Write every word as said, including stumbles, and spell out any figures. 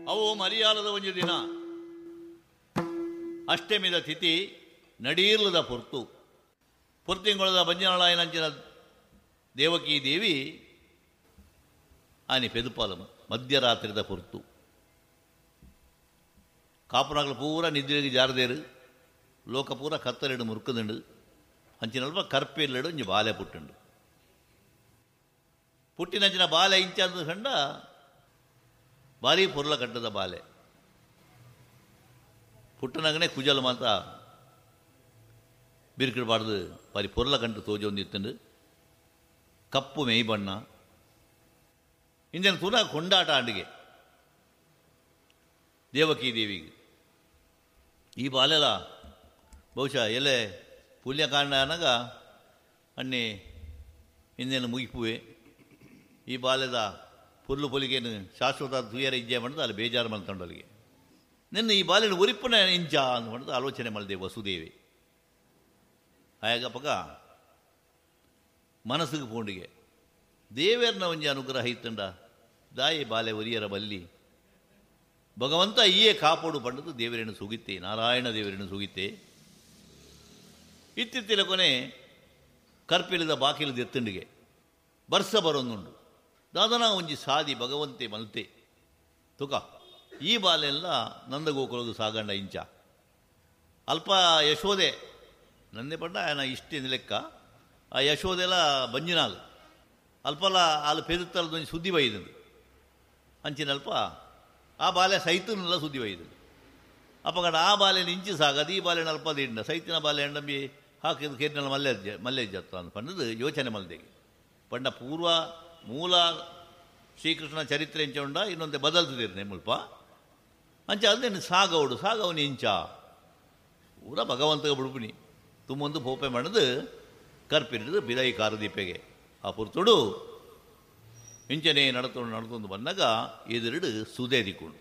ಅವು ಮರಿಯಾಲದ ಒಂಜಿ ದಿನ ಅಷ್ಟಮಿದ ತಿಥಿ ನಡೀರ್ಲದ ಪೊರ್ತು ಪೊರ್ತಿಂಗೊಳದ ಬಂಜನಾಳಾಯನಂಚಿನ ದೇವಕಿ ದೇವಿ ಆನಿ ಪೆದುಪಾಲಮ ಮಧ್ಯರಾತ್ರಿದ ಪೊರ್ತು ಕಾಪುನಾಗಲು ಪೂರ ನಿದ್ರೆಗೆ ಜಾರದೇರು ಲೋಕ ಪೂರ ಕತ್ತಲೆಡು ಮುರುಕುದುಂಡು ಅಂಚಿನಲ್ಪ ಕರ್ಪೆಲ್ಲೆಡು ಒಂಜಿ ಬಾಲೆ ಪುಟ್ಟುಂಡು ಪುಟ್ಟಿನಂಚಿನ ಬಾಲೆ ಇಂಚಂದು ಕಂಡ ಭಾರಿ ಪೊರ್ಲ ಕಟ್ಟದ ಬಾಲೆ ಪುಟ್ಟನಗನೆ ಕುಜಲ್ ಮಾತ ಬಿರ್ಕಿಡಬಾರ್ದು ಭಾರಿ ಪೊರ್ಲ ಕಂಟು ತೋಜೊಂದಿತ್ತುಂಡು ಕಪ್ಪು ಮೇಯ್ ಬಣ್ಣ ಇಂದಿನ ತುನ ಕೊಂಡಾಟ ಆಂಡಿಗೆ ದೇವಕಿ ದೇವಿಗೆ ಈ ಬಾಲೆಲ ಬಹುಶಃ ಎಲೆ ಪುಲ್ಯಕಾಂಡ ಅನಗ ಅಣ್ಣೆ ಇಂದೇನು ಮುಗಿಪುವೆ ಈ ಬಾಲ್ಯದ ಪುಲ್ಲು ಪೊಲಿಗೇನು ಶಾಶ್ವತ ತುಯರ ಇಜ್ಜೆ ಮಾಡಿದ ಅಲ್ಲಿ ಬೇಜಾರು ಮಲ್ತಂಡಲ್ಲಿಗೆ ನಿನ್ನ ಈ ಬಾಲ್ಯನ ಉರಿಪ್ಪನ ಇಂಚ ಅಂತ ಮಾಡಿದ ಆಲೋಚನೆ ಮಾಡಿದೆ ವಸುದೇವಿ. ಆಯಾಗ ಪಕ್ಕ ಮನಸ್ಸಿಗೆ ಪೋಂಡಿಗೆ ದೇವೇರ್ನ ಒಂಜಿ ಅನುಗ್ರಹ ಇತ್ತಂಡ ದಾಯಿ ಬಾಲೆ ಒರಿಯರ ಬಲ್ಲಿ ಭಗವಂತ ಈಯೇ ಕಾಪೋಡು ಪಂಡದು ದೇವರೇನು ಸುಗಿತ್ತೆ, ನಾರಾಯಣ ದೇವರೇನು ಸುಗಿತ್ತೆ. ಇತ್ತಿತ್ತಿಲ ಕೊನೆ ಕರ್ಪಿಲಿದ ಬಾಕಿಲದ ಎತ್ತಂಡಿಗೆ ಬರ್ಸ ಬರೋದುಂಡು ದಾದನ ಒಂಜಿ ಸಾದಿ ಭಗವಂತೆ ಮಲ್ತೆ ತುಕ ಈ ಬಾಲೆಲ್ಲ ನಂದಗೋಕುಲದು ಸಾಗಂಡ ಇಂಚ ಅಲ್ಪ ಯಶೋದೆ ನಂದೆ ಪಂಡ ಆಯನ ಇಷ್ಟಿನ ಲೆಕ್ಕ ಆ ಯಶೋದೆಲ್ಲ ಬಂಜಿನಾಲ್ ಅಲ್ಪಲ ಅಲ್ಲಿ ಪೆದುತ್ತಲದ ಒಂಜಿ ಸುದ್ದಿ ಬೈದಂದು ಅಂಚಿನಲ್ಪ ಆ ಬಾಲೆ ಸೈತನೆಲ್ಲ ಸುದ್ದಿ ಬೈದಂದು ಅಪ್ಪಗಡ ಆ ಬಾಲೆ ಇಂಚಿ ಸಾಗದು ಈ ಬಾಲೆ ಅಲ್ಪ ದಿಂಡ ಸೈತಿನ ಬಾಲೆ ಎಂಡಂಬಿ ಹಾಕಿದ ಕೇರಿನಲ್ಲಿ ಮಲ್ಲೆ ಮಲ್ಲೆಜ್ಜತ್ತ ಅಂತ ಪಂಡದು ಯೋಚನೆ ಮಲ್ದೆಗೆ ಪಂಡ ಪೂರ್ವ ಮೂಲ ಶ್ರೀಕೃಷ್ಣ ಚರಿತ್ರೆ ಇಂಚ ಉಂಡ ಇನ್ನೊಂದು ಬದಲ್ತಿದ್ದೀರಿ ಮುಲ್ಪ ಅಂಚ ಅದೇನು ಸಾಗವಡು ಸಾಗವನು ಇಂಚ ಪೂರ ಭಗವಂತಗ ಬಿಡುಪಿನಿ ತುಂಬೊಂದು ಪೋಪೆ ಮಾಡದು ಕರ್ಪಿರಿದು ಬಿದೈ ಕಾರದೀಪೆಗೆ ಆ ಪುರ್ತುಡು ಇಂಚನೆ ನಡತೊಂಡು ನಡತೊಂದು ಬಂದಾಗ ಎದುರುಡು ಸುದೇದಿಕೊಂಡು